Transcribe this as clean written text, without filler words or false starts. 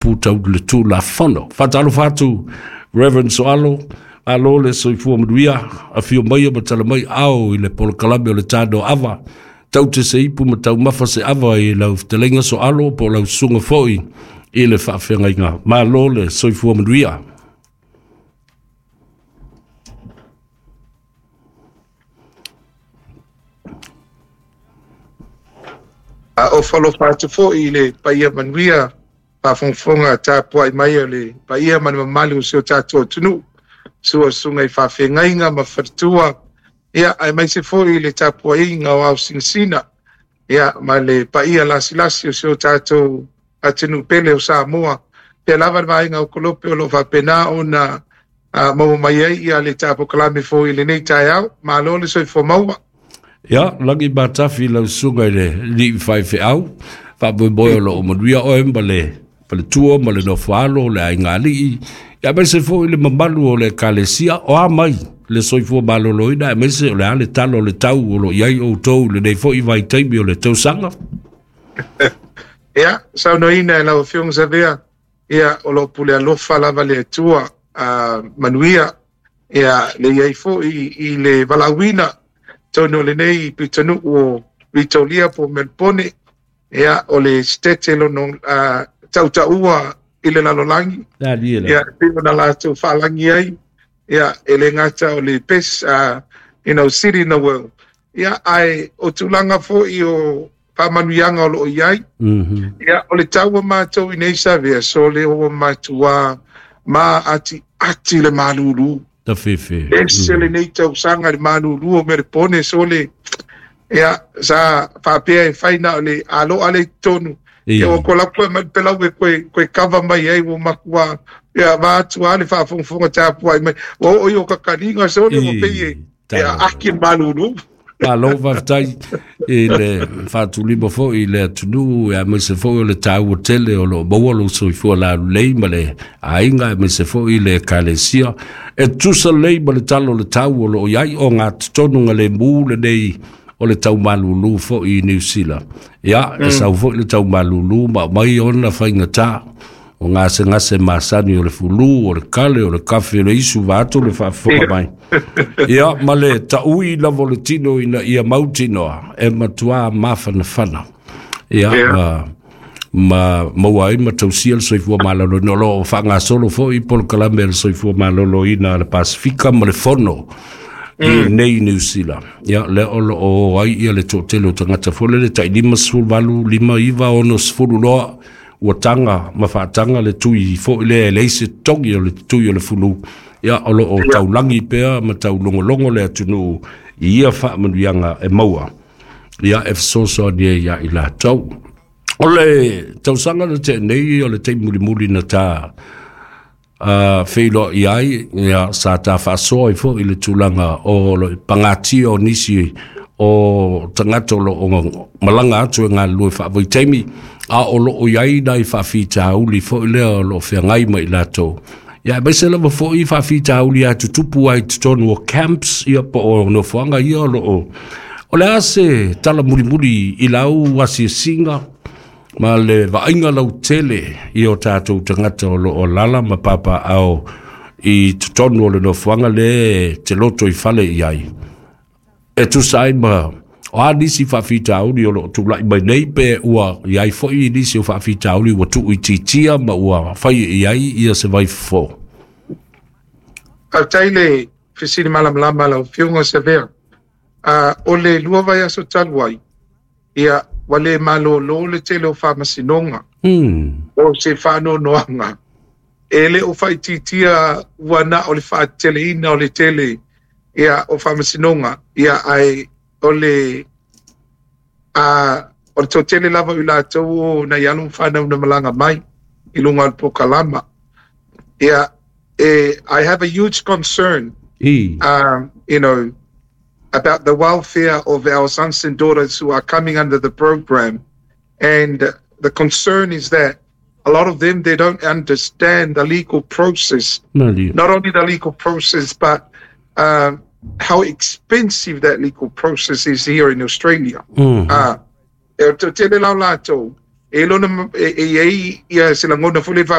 Putau le Tulafono. Faatalofa atu Reverend Soalo, malo le soifua manuia, afio mai ma tala mai ao i le polokalame o le Tano Ava. Tau te se ipu ma taumafa se ava i lau fetalaiga Soalo po o lau susuga foi i le faafeagaiga. Malo le soifua manuia. A o falofa atu foi i le paia manuia faafogafoga tapuai mai o le paia ma le mamalu o si o tatou atunuu, sua susuga i faafeagaiga ma faletua, ia aemaise foi le tapuaiga o ao sinasina, ia ma le paia lasilasi o si o tatou atunuu pele o Samoa. Pea lava le vaega o Kolope o lo o faapena ona maua mai ai ia le polokalame foi i lenei taeao. Malo le soifua maua. Ia, lagi matafi lau susuga i le alii faifeau, faamoemoe o lo o manuia oe ma le faletua ma le nofoalo, le aiga alii, ia aemaise foi le mamalu o le ekalesia, o a mai le soifua maloloina, aemaise o le a le tala o le tau o lo o i ai outou i lenei foi vaitaimi o le tausaga. Ia, saunoaina e lau Afioga Savea, ia, o lo o pule alofa lava le Atua, manuia, ia, le i ai foi i le valaauina tonu o lenei pitonuu o Vitoria po o Melpone, ia, o le sitete lono tautaua i le lalolagi, ia, pei ona latou faalagi ai, ia, e le gata o le best, you know, city in the world, ia, ae o tulaga foi o faamanuiaga o lo o i ai. Ia, o le tau o matou i nei Savea, so le o matua ma ati ati le malulu. Ta fefe. Ese lenei tausaga le malulu o Melpone, so le, ia, sa faapea e fai na o le aloa le tonu. Ia, o ko lau koe mai pelau e koe, koe kava mai ai o makua, ia, vaatu a le faafogafoga tapuai mai. Ua oo i o kakaliga, so le o pei e, ia, aki le malulu. Malo faafetai i le faatulima foi i le atunuu, aemaise foi o le taua tele o lo o maua lou soifua lalelei ma le aiga, aemaise foi le ekalesia. E tusa lelei ma le tala o le tau o lo o i ai o gatotonu lemu lenei o le taumalulu foi i Niu Sila. Ia, e sau foi le taumalulu ma aumai ona faigata o gasegase masani o le fulu, o le kale, o le kafe, o le isu vaeatu le faafofoga mai. Ia, ma le taui lava o le tino ina ia mautinoa e matuā mafanafana. Ia, ma maua ai ma tausia le soifua maloloina. O lo o faagasolo foi polokalame a le soifua maloloina a le Pasifika ma le Fono i nei Niu Sila. Ia, lea o lo o o ai ia le toatele o tagata foi lele tai 58, 59, 60 loa ua taga ma faataga le tui foi lea e leai se togi o le tui o le fulu. Ia, o lo o taulagi pea ma taulogologo le atunuu i ia faamanuiaga e maua. Ia, e fesoasoani ai ia i latou. O le tausaga na tea nei o le taimi mulimuli na ta feiloai ai, ia, sa ta faasoa ai foi i le tulaga o le pagatia o nisi o tagata o lo o malaga atu e galulue faavaitaimi, a o lo o i ai nai faafitauli foi lea o lo o feagai ma i latou. Ia, aemaise lava foi faafitauli a tutupu ai i totonu o camps, ia, po o nofoaga ia o lo o. O le a se tala mulimuli i lau asiasiga ma le vaaiga lautele i o tatou tagata o lo o alaala ma papaaao i totonu o le nofoaga le te loto i fale i ai? E tusa ai ma o a nisi faafitauli o lo o tulai mai nei, pe ua i ai foi nisi o faafitauli ua tuuitiitia ma ua fai i ai ia se vaifofo? Faafetai le fesili malamalama lau Afioga Savea. O le 2 vaiaso talu ai, ia, ua le malolo le tele o faamasinoga. O se faanoanoaga, e le o faaitiitia ua na o le faateteleina o le tele, ia, o faamasinoga, ia, ae o le o le toatele lava o i latou o nai alo ma fanau na malaga mai i luga o le polokalama. Ia, I have a huge concern, about the welfare of our sons and daughters who are coming under the program. And the concern is that a lot of them, they don't understand the legal process. Not only the legal process, but how expensive that legal process is here in Australia. E o tele lau latou, E lona e i ai ia se lagona foi le.